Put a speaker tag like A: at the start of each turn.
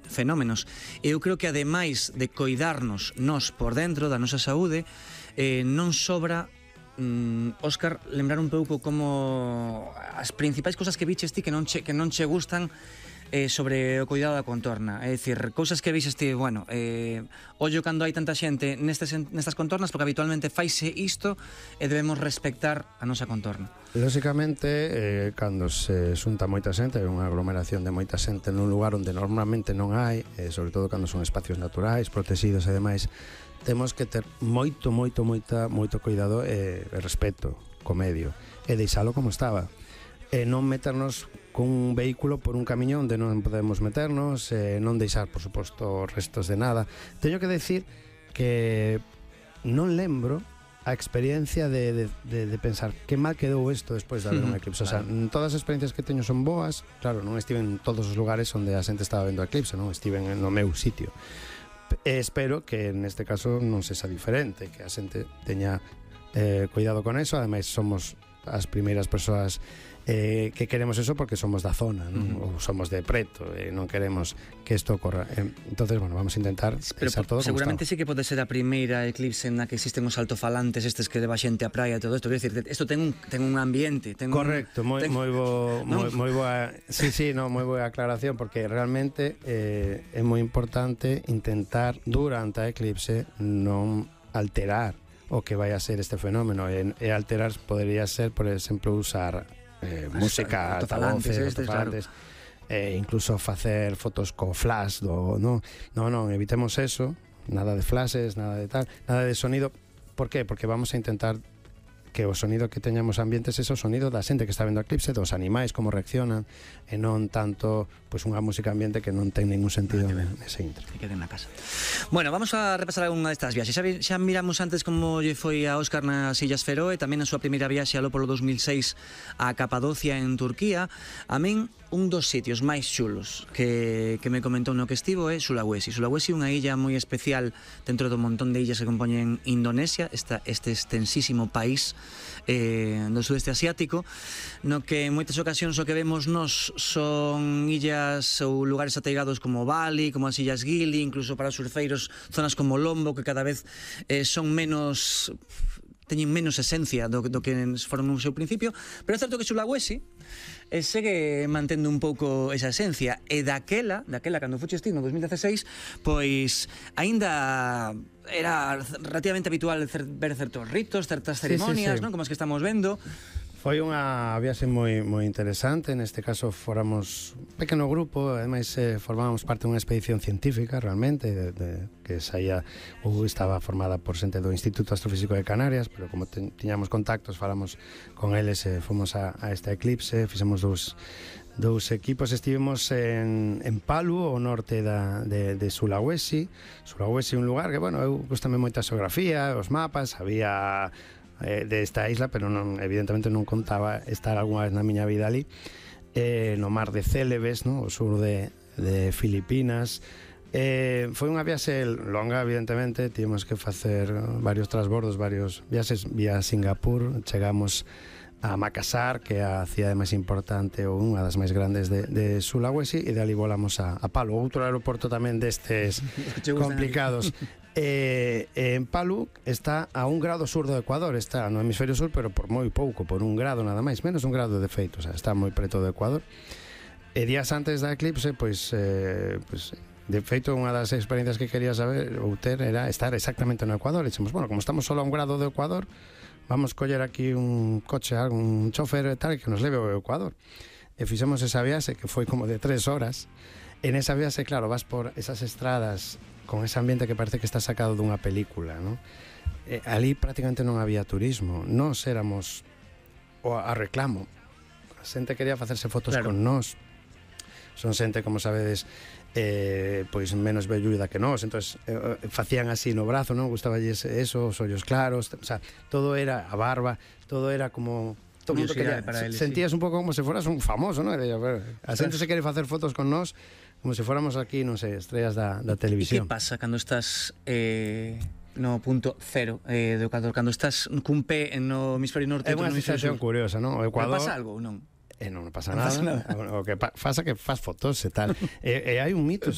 A: fenómenos. Eu creo que ademais de coidarnos nós por dentro da nosa saúde, non sobra, Óscar, lembrar un pouco como as principais cousas que viches ti que non che gustan sobre o cuidado da contorna. É dicir, cousas que vixes ti, bueno, ollo cando hai tanta xente nestas contornas, porque habitualmente faise isto e debemos respectar a nosa contorna.
B: Lóxicamente, cando se xunta moita xente, unha aglomeración de moita xente nun lugar onde normalmente non hai, sobre todo cando son espacios naturais, protegidos e demais, temos que ter moito cuidado e respeto co medio e deixalo como estaba, e non meternos cun vehículo por un camiño onde non podemos meternos, non deixar, por suposto, restos de nada. Teño que decir que non lembro a experiencia de pensar que mal quedou isto despois de haber un eclipse. O sea, todas as experiencias que teño son boas. Claro, non estive en todos os lugares onde a xente estaba vendo o eclipse, non estive no meu sitio. Espero que neste caso non sexa diferente, que a xente teña cuidado con eso. Ademais, somos as primeiras persoas que queremos eso porque somos da zona, non? Ou somos de preto e non queremos que isto ocorra. Entonces, bueno, vamos a intentar deixar todo como
A: seguramente
B: está.
A: sí que pode ser a primeira eclipse na que existen os altofalantes estes que leva xente á praia e todo isto. Quero dicir, isto ten un ambiente,
B: correcto, moi boa. Sí, moi boa aclaración, porque realmente é moi importante intentar durante a eclipse non alterar o que vai a ser este fenómeno, e alterar podería ser, por exemplo, usar música, altofalantes, claro. Incluso facer fotos co flash non, evitemos eso, nada de flashes, nada de tal, nada de sonido. Por qué? Porque vamos a intentar que o sonido que teñamos ambientes é o sonido da xente que está vendo a eclipse, dos animais, como reaccionan, e non tanto pois unha música ambiente que non ten ningún sentido nese intro.
A: Que queden na casa. Bueno, vamos a repasar algunha destas viaxes. Xa miramos antes como lle foi a Óscar nas Illas Feroe, tamén a súa primeira viaxe aló polo 2006 a Capadocia en Turquía. A min, un dos sitios máis chulos que me comentou no que estivo é Sulawesi. Sulawesi é unha illa moi especial dentro do montón de illas que compoñen Indonesia, este extensísimo país do sudeste asiático, no que en moitas ocasións o que vemos nos son illas ou lugares ateigados como Bali, como as Illas Gili, incluso para os surfeiros zonas como Lombo, que cada vez son menos, teñen menos esencia do que foron no seu principio, pero é certo que Sulawesi segue mantendo un pouco esa esencia, e daquela cando fuches ti no 2016, pois aínda era relativamente habitual ver certos ritos, certas ceremonias, sí. Non? Como as que estamos vendo.
B: Foi unha viaxe moi interesante. Neste caso fóramos un pequeno grupo, ademais formábamos parte dunha expedición científica realmente, que saía ou estaba formada por xente do Instituto Astrofísico de Canarias, pero como tiñamos contactos, falamos con eles e fomos a esta eclipse. Fixemos dous equipos. Estivemos en Palu, ao norte de Sulawesi. Sulawesi é un lugar que, bueno, eu gustame moita xeografía, os mapas, había desta isla, pero evidentemente non contaba estar algunha vez na miña vida ali, no mar de Célebes, no? O sur de Filipinas. Foi unha viaxe longa, evidentemente. Tivemos que facer varios transbordos, varios viaxes vía Singapur. Chegamos a Makassar, que é a cidade máis importante ou unha das máis grandes de Sulawesi, e de ali volamos a Palu, outro aeroporto tamén destes complicados. En Palu está a 1 grado sur do Ecuador, está no hemisferio sur, pero por moi pouco, por 1 grado nada máis, menos 1 grado de feito, o sea, está moi preto do Ecuador. E días antes da eclipse, pois de feito, unha das experiencias que quería saber ou ter era estar exactamente no Ecuador. E dixemos, bueno, como estamos solo a 1 grado do Ecuador, vamos coller aquí un coche, un chofer e tal, que nos leve ao Ecuador. E fixemos esa viaxe, que foi como de 3 horas. En esa viaxe, claro, vas por esas estradas con ese ambiente que parece que está sacado dunha película, ¿no? Ali prácticamente non había turismo. Nós éramos a reclamo. A xente quería facerse fotos con nós. Son xente, como sabedes, pois menos velluda que nós, entonces facían así no brazo, non? Gustaballes eso, os ollos claros, o sea, todo era a barba, todo era como todo mundo quería, sentías un pouco como se foras un famoso, non? A xente se quere facer fotos con nós como se fóramos aquí, non sei, estrellas da televisión.
A: E que pasa cando estás no punto cero do Ecuador, cando estás cun pé no hemisferio norte?
B: É unha sensación curiosa, non? O Ecuador...
A: Pero pasa algo ou non?
B: e non pasa nada. O que pasa que faz fotos e tal. E hai un mito sobre